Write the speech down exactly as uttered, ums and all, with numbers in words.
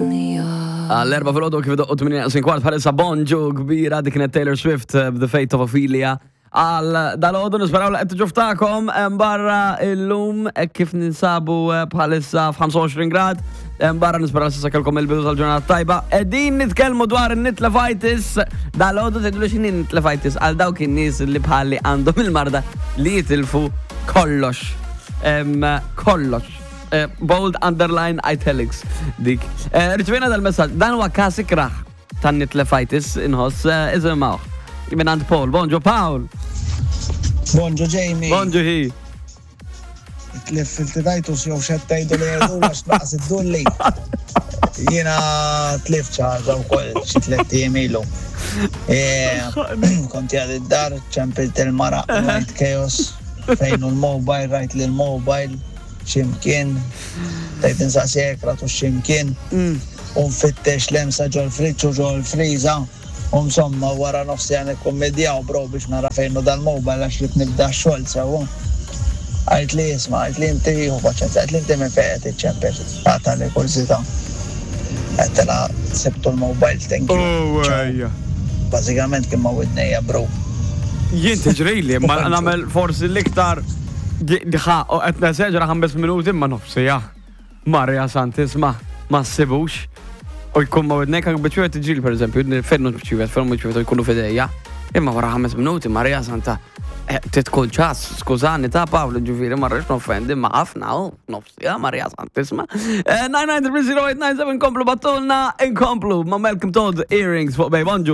Għall-erbgħa filgħodu kif idoqqu tmienja kwart bħalissa, bonġu kbira, dik kienet Taylor Swift eh, The Fate of Ophelia. Għal dalgħodu nisperaw li qed ġuftakom barra illum eh, kif ninsabu eh, bħalissa f'ħamsa u għoxrin grad. Barra nisperaw s'issa kellkom il-bidu tal-ġurnata tajba. Qegħdin nitkellmu dwar in-nitlefitis. Dalgħodu tgħidu li x'inhi nitlefitis għal dawk in-nies li bħalli għandhom il-marda li jitilfu kollox. Em, Kollox. Eh, bold, underline, italics dik. Eh, Rċevejna dal-messaġġ, dan huwa każ ikrah tan-nitlefitis inħoss, eh, isimgħu. Minn għand Paul. Bonġu, Paul. Bonġu, Jamie. Bonġu hi. Tlif fil-titajtus jew xettajdu li jgħidu għax naqas id-dulli. Jiena tlift xi ħaġa wkoll xi tliet ijiem ilu. Kont għad id-dar, ċempilt il-mara, rajt chaos, fejn hu l-mobile, rajt li l-mobile, ximkien, tajt insaqsi ratu ximkien, u nfittex lemsa ġol-friġġ u ġol-friża. U insomma, wara nofsi għan ikkommedjaw, bro, biex nara fejn hu dal-mobile għax rrid nibda x-xogħol sewa. Għajt li jisma, għajt li inti hu paċenza, għajt li inti minn fejn qed iċċempel. Għata li kurżità. Għedtilha sibtu l-mobile, thank you. Oh, Ciao. ejja. Bażikament kien ma' widnejja, bro. Jien tiġrili, ma nagħmel forsi l-iktar diħa u qed neseġra ħames minuti ma nofsija. Marja Santisma, ma ssibux. U jkun ma widnejk anke biċċiet tiġrili, per eżempju, fejn biċċiet, fejn biċċiet u jkunu f'idejja. Imma wara ħames minuti, Marja Santa, eh, titkun ċas, skużani ta' Paolo, ġifieri, ma rridx noffendi, ma ħafna, u nofsija, Marja Santisma. nine nine three zero eight nine seven, komplu ibgħatulna, inkomplu, ma' Malcolm Todd, Earrings fuq Bay. Bonġu.